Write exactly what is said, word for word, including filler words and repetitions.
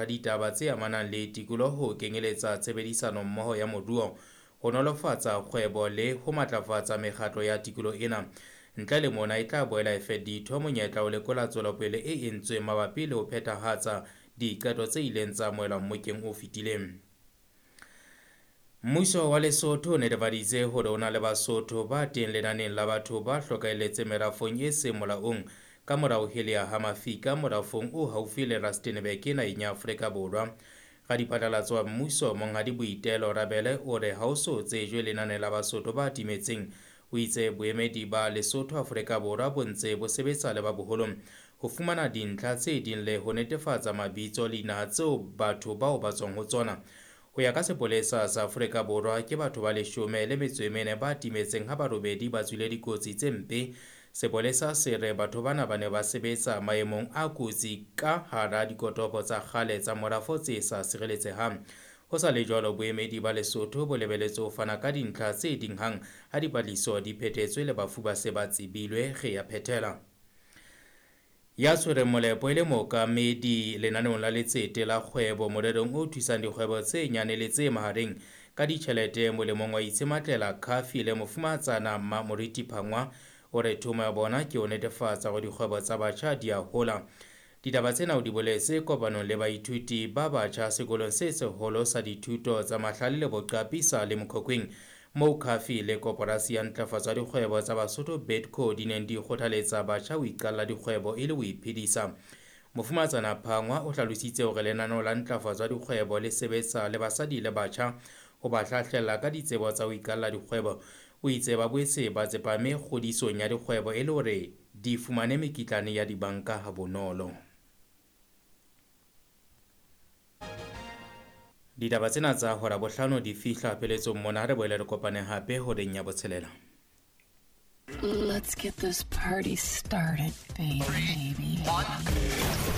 Ditaba tse amanang le tikoloho ho kenyeletsa tshebedisano mmoho ya moruo, ho nolofatsa kgwebo le ho matlafatsa mekgatlo ya tikoloho ena. Ntle le mona, e tla boela e fe ditho monyetla ho lekola tswelopele e entsweng mabapi le ho phethahatsa diqeto tse ileng tsa amohelwa mmokeng o fetileng. Mmuso wa Lesotho o netefaditse hore o na le Basotho ba teng lenaneng la batho ba hlokahelletseng merafong e seng molaong ka mora ho heleha ha mafika morafong o haufi le Rustenburg naheng ya Afrika Borwa. Radiphatlalatso wa mmuso Monghadi Boitelo Rabele o re ha ho so tsejwe lenane la Basotho ba timetseng. O itse boemedi ba Lesotho Afrika Borwa bo ntse bo sebetsa le ba boholong ho fumana dintlha tse ding le ho netefatsa mabitso le dinaha tseo batho bao ba tswang ho tsona. Ho ya ka sepolesa sa Afrika Borwa, ke batho ba leshome le metso e mene ba timetseng ha ba robedi ba tswile dikotsi tse mpe. Sepolesa se re batho bana ba ne ba sebetsa maemong a kotsi ka hara dikotopo tsa kgale tsa morafo tse sa sireletsehang. Ho sa le jwalo, boemedi ba Lesotho bo lebeletse ho fana ka dintlha tse ding hang ha dipatlisiso di phethetswe le bafu ba se ba tsebilwe. Re ya phethela. Ya tshwereng molepo e le mookamedi lenaneong la letsete la kgwebo morerong o thusang dikgwebo tse nyane le tse mahareng ka ditjhelete molemong wa Itshematlela Khafi le mofumahatsana Mmamoriti Phangwa o re thomo ya bona ke ho netefatsa hore dikgwebo tsa batjha di a hola. Ditaba tsena o di boletse kopanong le baithuti ba batjha sekolong se seholo sa dithuto tsa mahlale le boqapi sa Limkokwing, moo Khafi le koporasi ya ntlafatso ya dikgwebo tsa Basotho Bidco di neng di kgothaletsa batjha ho iqalla dikgwebo e le ho iphedisa. Mofumahatsana Phangwa o hlalositse hore lenaneo la ntlafatso ya dikgwebo le sebetsa le basadi le batjha ho ba hlahlella ka ditsebo tsa ho iqalla dikgwebo. O itse ba boetse ba tsepame kgodisong ya dikgwebo e le hore di fumane mekitlane ya dibanka ha bonolo. Ditaba tsena tsa hora bohlano di fihla pheletsong mona, re boele re kopane hape horeng ya botshelela. Let's get this party started, baby. One.